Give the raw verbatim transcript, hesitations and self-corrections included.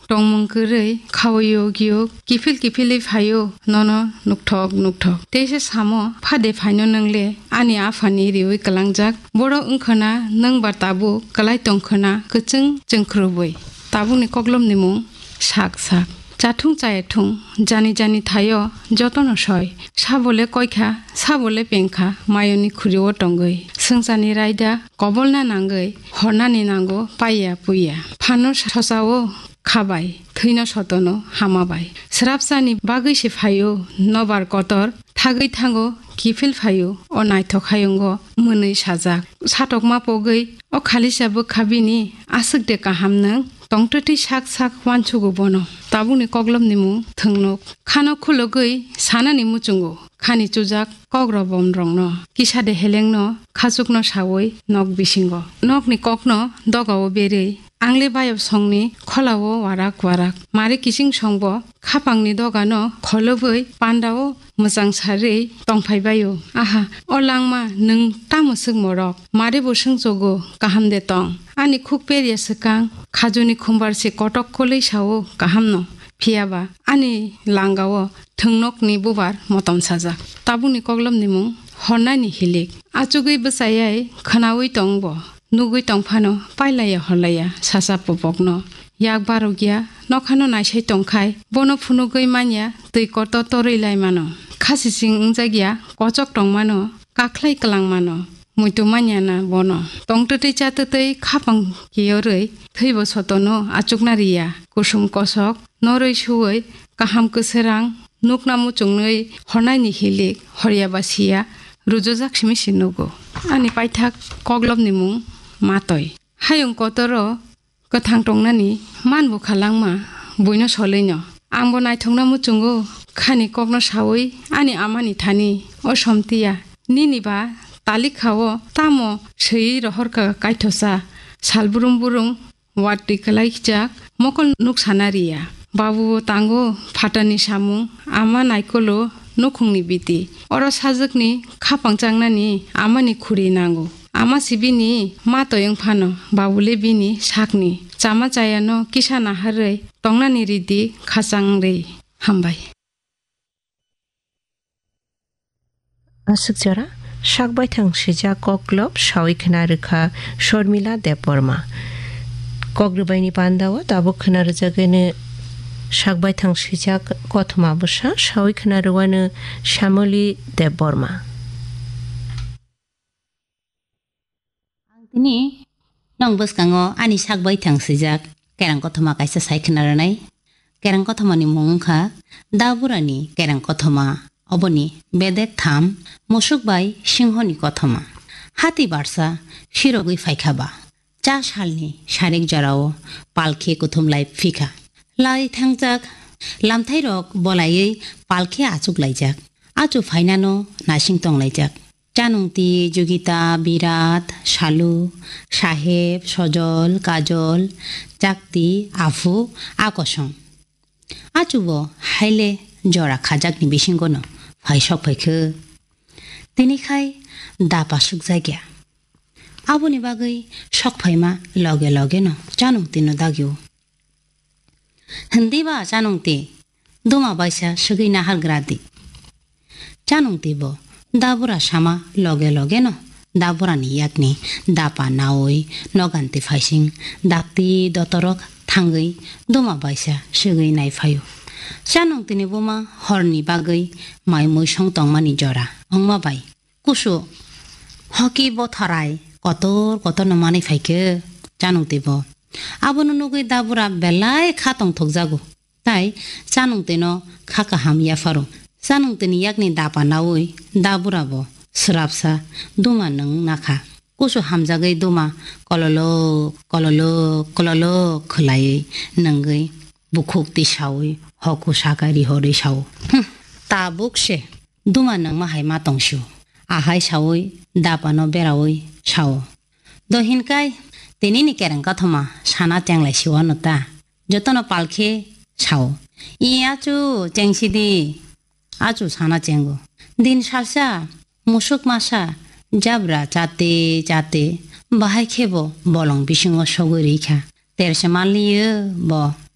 tongmung kwrwi khaui yog yog kiphil kiphilwi phaio nono nukthok nukthok. Teisa samo, "Phade phaino nwngle ani aphani riui kwlangjak. Borok wngkhwna nwngba tabuk kwlai tongkhwna kwchwng chwngkhrubwi." Tabukni koklopni mung sak sak. Chathung chayathung, jani jani thaio jotono soi. Sabole koikha, sabole pengkha, mayoni khuriwo tongwi. Swngcharni raida kobolna nangwi, hornani nango paiya puiya. Phano sosao khabai, thwino sotono hamabai. Srapsani bagwi se phaio nobar kotor, thagwi thango kiphil phaio o naithok hayungo mwnwi sajak. Satokma pogwi o khalisa bwkha bini aswk de kaham nwng tongtwtwi sak sak uansugo bono. Tabukni koklopni mung thwngnuk. Khano khulugwi sanani muchungo. Khani chujak kokrok bomrokno, kisa de helengno khachukno saui nok bisingo. Nokni kokno dogao berwi, angle bayap songni kholao warak warak. Mari kiching songbo khapangni dogano kholobwi pandao mwchang sarwi tongphai baio. Aha, o langma nwng tamo swk morok? Mari bo swngchogo, kaham de tong? Ani khuk perya swkang, khajuni khumbar se kotok kolwi sao, kaham no? Phiya ba ani langao thwngnokni bubar motom sajak. Tabukni koklopni mung hornani hilik. Achugwi bwchayai khwnaui tong bo. Nugwi tong phano pailaya horlaya sasa popokno. Yak barokya nokhano naisai tongkhai bono phunugwi manya twi kotor torwi lai mano. Khasising wngjakya kochok tong mano, kakhlai kwlang mano. Muitu manya na bono. Tongtwtwi chatwtwi khapang kiyorwi thwibo sotono achukna riya. Kusum kosok norwi suwi kaham kwswrang nukna muchungnwi hornaini hilik horya ba siya rujujak simi si nugo. Ani paithak koklopni mung Matoi. Hayung kotoro kwthang tongnani man bwkha langma buino solwino. Angbo naithokna muchungo khani kokno saui ani amani thani, "O Somtiya, nini ba talikhao tamo swiwi rohorkha kaithosa, sal brum brum watwi kwlaijak mokol nuksana riya." Babubo tango phatarni samung, ama naikolo nukhungni biti. Oro sajwkni khapang changnani amani khuri nango. Ama si bini Matoi wng phano, babule bini sakni. Chama chayano kisa naharwi tongnani ridi khachang rwi. Hambai. Aswk jora sak baithang swijak koklop saui khwna rwkha Shormila Debbarma. Kok rwbaini pandao tabuk khwna rwjagwino sak baithang swijak kothoma bwsa saui khwna rwano Shamoli Debbarma. Ang tini nong bwskango ani sak baithang swijak kerang kothoma kaisa sai khwna rwnai. Kerang kothomani mung wngkha Daburani kerang kothoma, oboni bedek tham, musuk bai singhoni kothoma. Hati barsa sirogwi phaikha ba, cha salni sarik jorao palkhe kuthum lai phikha. Lai thangjak lamthairok bolaiwi palkhe achuk laijak. Achu phainano naising tong laijak. Chanungti, Jugita, Birat, Salu, Saheb, Sojol, Kajol, Chakti, Aphu, Akosong. Achubo haile jora khajakni bisingono phai sok phaikhe. Tini khai da pasuk jakya. Aboni bagwi sok phaima loge logeno Chanungtino dagio. Hindi ba Chanungti, duma baisa swgwi nahargra di. Chanungti bo Dabura sama loge logeno Daburani yakni dapa naui noganti phaising dakti dotorok thangwi duma baisa swgwi naiphaio. Chanungtini buma horni bagwi mai muisong tongmani jora wngma bai kusu hoki botharai kotor kotorno manwi phaikhe Chanungti bo. Abono nugwi Dabura belai kha tongthokjago. Tai Chanungtino kha kaham yapharo. Chanungtini yakni dapa naui Dabura bo swrapsa duma nwng nakha. Kusu hamjagwi duma kololok, kololok, kololok khwlaiwi nwngwi bukhuk tisaui hoku saka rihorwi sao. Hmm, tabuk se duma nwngma hai ma tongsio. Ahai saui dapano beraui sao. Do hinkai tinini kereng kathoma sana chenglai siwano ta. Jotono palkhe sao. I achu chengsidi. Achu sana chengo. Din salsa, musuk masa, jabra chate chate, bahai khebo bolong bisingo sogwi rikha. Terse manliyo bo.